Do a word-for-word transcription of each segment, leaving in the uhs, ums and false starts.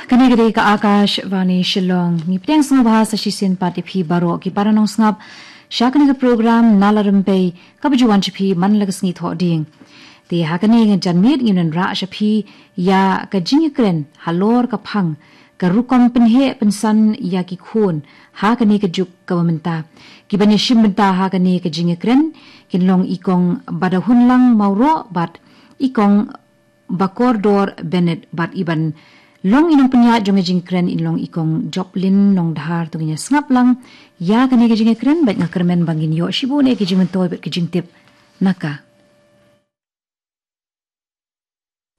Kane ka dei ka Akashvani Shillong. Ngi pdiang sngewbha sa shisien pat ïa phi baroh ki para nongsngap sha kane ka program Nala Rympei kaba ju wan sha phi man la ka sngi Thohdieng. Te ha kane ka janmiet ngin wanrah sha phi ïa ka jingïakren halor ka phang ka rukom pynheh pynsan ïa ki khun ha kane ka juk kaba mynta. Kiban ïashim bynta ha kane ka jingïakren kin long i Kong Badahunlang Mawroh bad i Kong Bakordor Bennett bad iban long i nongpynïaid jong ka jingkren in long i Kong Joplin Nongdhar. To ngin ïa sngap lang ïa kane ka jingkren bad nga kyrmen ba ngin ïoh shibun eh ki jingmyntoi bad ki jingtip na ka.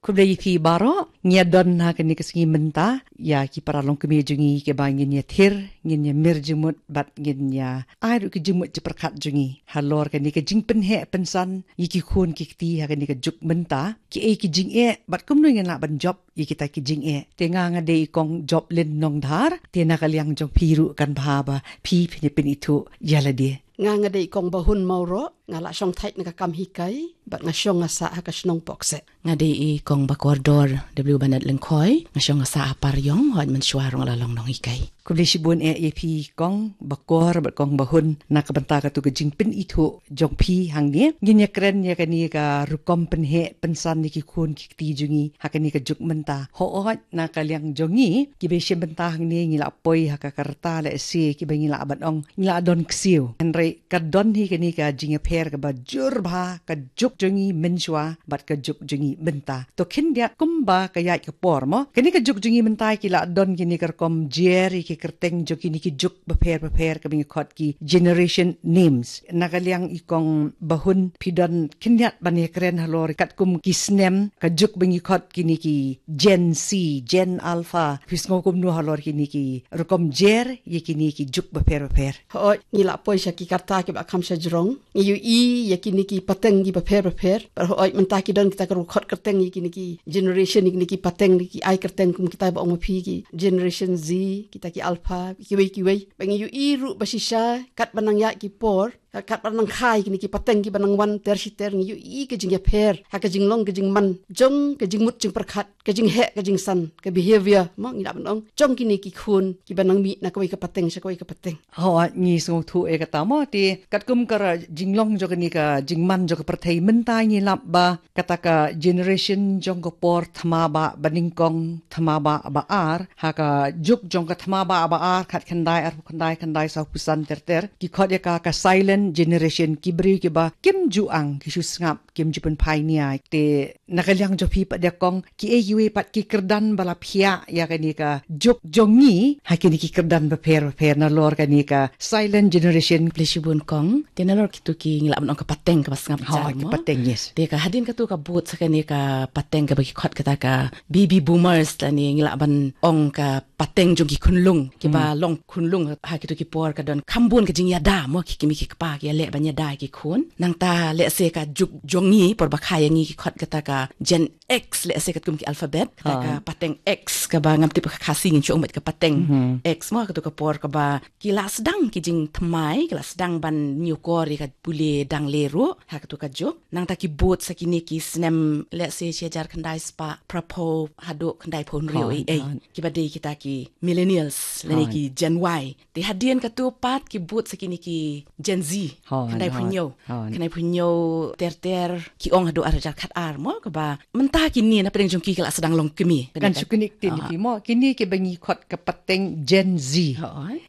Khublei ïa phi baroh, ngi ïa don ha kane ka sngi mynta ïa ki para longkmie jong ngi kiba ngin ïa thir, ngin ïa mir jingmut bad ngin ïa ai ruh ki jingmut jingpyrkhat jong ngi halor kane ka jingpynheh pynsan ïa ki khun ki kti ha kane ka juk mynta, kiei ki jingeh bad kumno ngin lah ban jop ïa kita ki jingeh. Te nga nga dei i Kong Joplin Nongdhar, te na ka liang jong phi ruh kan bha ba phi phin ïa pynithuh ïa lade. Nga nga dei i Kong Bahun Mawroh, nga la shong thait na ka kam hikai bad nga shong nga sah ha ka shnong Pokse. Nga dei i Kong Bakordor W Bennett Lyngkhoi, nga shong nga sah ha Pariong, hooid mynshuwa ruh nga la long nonghikai. Khublei shibun eh ïa phi Kong Bakor bad Kong Bahun na ka bynta katu ka jingpynithuh jong phi hangne. Ngin ïa kren ïa kane ka rukom pynheh pynsan ïa ki khun ki kti jong ngi ha kane ka juk mynta. Hooid na ka liang jong ngi kiba shim bynta hangne ngi la poi ha ka karta lehse kiba ngi lah ban ong ngi la don ksiew. Hynrei ka don hi kane ka jingïapher kaba jur bha, ka juk jong ngi mynshuwa bad ka juk jong ngi mynta. To khyndiat kumba ka ïaid ka por mo, kane ka juk jong ngi mynta ki la don kine ka rukom jer ïa ki kyrteng jong kine ki juk bapher bapher kaba ngi khot ki generation names. Na ka liang i Kong Bahun, phi don khyndiat ban ïa kren halor katkum ki snem, ka juk ba ngi khot kine ki Gen Z, Gen Alpha, phi sngew kumno halor kine ki rukom jer ïa kine ki juk bapher bapher? Hooid, ngi la poi sha ki karta kiba kham shajrong. Ngi ïohi ïa kine ki pateng kiba pher bapher. Bad hooid mynta ki don kita ka rukhot kyrteng ïa kine ki generation, ïa kine ki pateng, ki ai kyrteng kum kita ba ong ma phi ki Generation Z, kita ki Alpha, kiwei kiwei. Ba ngi ïohi ruh ba shisha katba nang ïaid ki por, katba nang kha ïa kine ki pateng kiba nang wan ter shi ter, ngi ïohi ka jingïapher ha ka jinglong ka jingman jong ka jingmut jingpyrkhat, ka jingheh ka jingsan, ka behavior mo ngi lah ban ong, jong kine ki khun kiba nang mih na kawei ka pateng sha kawei ka pateng. Hooid, ngi sngewthuh ïa kata mo. Te katkum ka jinglong jong kane ka jingman jong ka pyrthei mynta ngi lap ba kata ka generation jong ka por thma ba, ba nyngkong, thma ba, ba ar, ha ka juk jong ka thma ba, ba ar, khatkhyndai, arphew khyndai, khyndai, sawphew san ter ter, ki khot ïa ka ka silent generation, ki briew kiba kim ju ang, ki shu sngap, kim ju pynphai nia. Te na ka liang jong phi pat de Kong, kiei kiwei pat ki kyrdan ba la phiah ïa kane ka juk jong ngi ha kine ki kyrdan bapher bapher nalor kane ka silent generation? Khublei shibun Kong. Te nalor kitu ki ngi lah ban ong ka pateng kaba sngap jar mo. Hooid, ka pateng, yes. Te ka hadien katu ka bud sa kane ka pateng kaba ki khot kata ka baby boomers, lane ngi lah ban ong ka pateng jong ki khunlung, kiba long khunlung ha kitu ki por ka don kham bun ka jingïada mo, ki kmie ki kpa ki ïaleh ban ïada ïa ki khun. Nangta lehse ka juk jong ngi por ba kha ïa ngi ki khot kata ka Gen X, lehse katkum ki alphabet, kata ka pateng X, kaba ngam tip ka Khasi ngin shu ong beit ka pateng X mo, katu ka por kaba ki la sdang ki jingthymmai, ki la sdang ban ñiewkor ïa ka pule dang le ruh ha katu ka juk. Nangta ki bud sa kine ki snem, lehse shi hajar khyndai spah phraphew haduh khyndai phew hynriew ei ei, kiba dei kita ki millennials lane ki Gen Y. Te hadien katu pat ki bud sa kine ki Gen Z. Khyndai phew hynñiew, khyndai phew hynñiew ter ter, ki ong haduh ar hajar khatar mo, kaba mynta kine na pdeng jong ki ki la sdang long kmie. Kan shu kine ki tin ki mo, kine kiba ngi khot ka pateng Gen Z,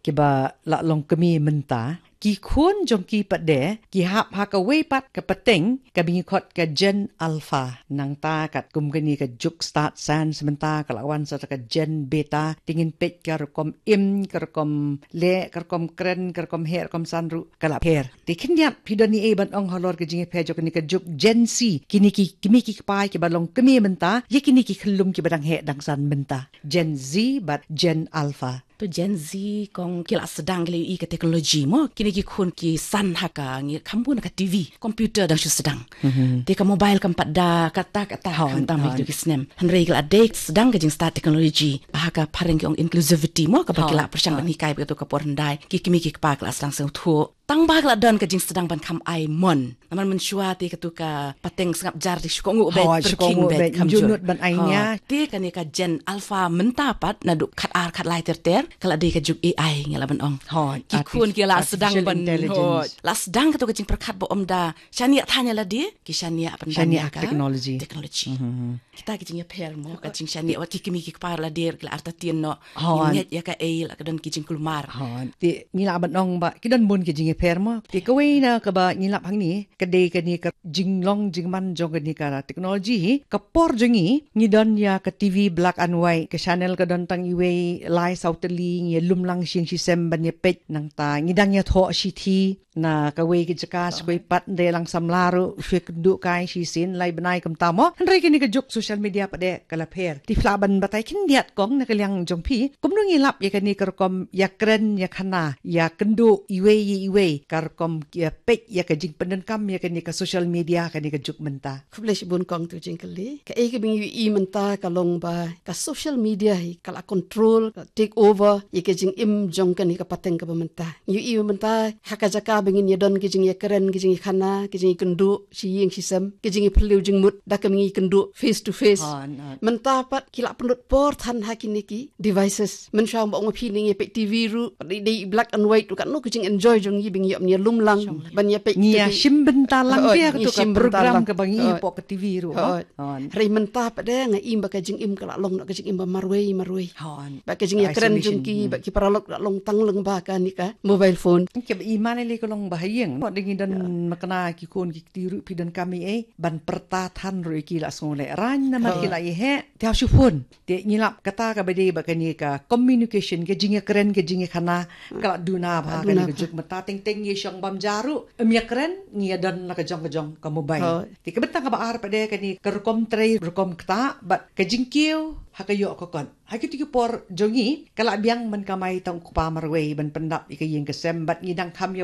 kiba la long kmie mynta. Ki khun jong ki pat de ki hap ha kawei pat ka pateng kaba ngi khot ka Gen Alpha. Nangta katkum kane ka juk start science mynta ka la wan sa ka Gen Beta, te ngin peit ka rukom im, ka rukom leh, ka rukom kren, ka rukom heh, rukom san ruh ka la pher. Te khyndiat phi don ei ei ban ong halor ka jingïapher jong kane ka juk Gen Z, kine ki kmie ki kpa kiba long kmie mynta ïa kine ki khyllung kiba dang heh dang san mynta, Gen Z bad Gen Alpha? To Gen Z kong ki la sdang ki la ïohi ka technology mo. Kine ki khun ki san ha ka ngi kham bun ka T V, computer dang shu sdang. Mhm. Te ka mobile kam pat da kata kata ha, hon, khamtam hon. Ki snem. Hynrei ki la dei sdang ka jingstad technology. Ha ka phareng ki ong inclusivity mo, kaba ki la pyrshang ban hikai ba ka tu ka por hyndai. Ki kmie ki kpa ki la sdang sngewthuh. Tang ba ki la don ka jingsdang ban kham ai mon. Namar mynshuwa te ka tu ka pateng sngap jar te shu kohnguh beit, hoi, shu kohnguh beit, kham jur. Jur lut ban ai nia. Te kane ka Gen Alpha mynta pat naduh khat ar khat lai ter ter, ka la dei ka juk A I ngi la ban ong. Hoi, ki khun ki la sdang ban, hoi, la sdang ka tu ka jingpyrkhat ba ym da shaniah than ïa lade, ki shaniah ban shaniah ka technology. Technology. Mhm. Kita ki jingïapher mo, ka jingshaniah wat ki kmie ki kpa la der ki la artatien noh. Hon. Ngi ngeit ïa kaei la ka don ki jingkulmar. Hon. Te ngi la ban ong ba ki don bun ki jingïapher mo. Te kawei na kaba ngi lap hangne, ka dei kane ka jinglong jingman jong kane ka technology hi. Ka por jong ngi, ngi don ïa ka T V black and white, ka channel ka don tang iwei lai saw tylli, ngi lum lang shing shisem ban ïa peit nangta. Ngi dang ïathoh shithi, na kawei ka jaka, sa kawei pat, nda lang samla ruh, shu kynduh kai shisien, lai bnai kumta mo. Hynrei kane ka juk social media pat de ka la pher. Te phi lah ban batai khyndiat kong na ka liang jong phi. Kumno ngi lap ïa kane ka rukom ïakren ïakhana, ïakynduh iwei ïa iwei, ka rukom ïa peit ïa ka jingpyndonkam ïa kane ka social media kane ka juk mynta. Khublei shibun kong tu jingkylli. Kaei kaba ngi ïohi mynta ka long ba ka social media hi ka la control, ka take over ïa ka jingim jong kane ka pateng kaba mynta. Ngi ïohi mynta ha ka jaka ba ngin ïa don ka jingïakren, ka jingïakhana, ka jingïakynduh shi ïing shi sem, ka jingïaphylliew jingmut da kaba ngi kynduh face to face. Hon, hon. Mynta pat ki la pynlut por than ha kine ki devices. Mynshuwa ba ong phi ne ngi peit T V ruh, pat dei, dei black and white ruh, katno ka jingenjoy jong ngi ba ngi ïoh ban ïa lum lang, ban ïa peit. Ngi ïa shim bynta lang, hoi, phi ïa ka tu ka program kaba ngi ïa pok ka T V ruh, hoi. Hon. Hynrei mynta pat de nga im ba ka jingim ka la long noh ka jingim ba marwei marwei. Hon. Ba ka jingïakren jong ki, hmm, ba ki paralok la long tang lyngba kane ka mobile phone. Kaba i mane le ka long ba ha ïing. Mo dang ngi don makna ki khun ki kti ruh phi donkam ei ei ban pyrta than ruh ki la sngew leh rang namar ki la ïeheh. Te ha shu phone. Te ngi lap kata kaba dei ba kane ka communication, ka jingïakren, ka jingïakhana, ka la duna bha ha kane ka juk mynta, teng teng ngi shong bam ja ruh, ym ïakren, ngi ïa don la ka jong ka jong ka mobile. Hoi. Te ka bynta kaba ar pat de kane ka rukom trei, rukom ktah, bad ka jingkiew ha ka ïoh ka kot. Ha kito ki por jong ngi, ka la biang ban kamai tang u kpa marwei ban pyndap ïa ka ïing ka sem, bad ngi dang kham ïa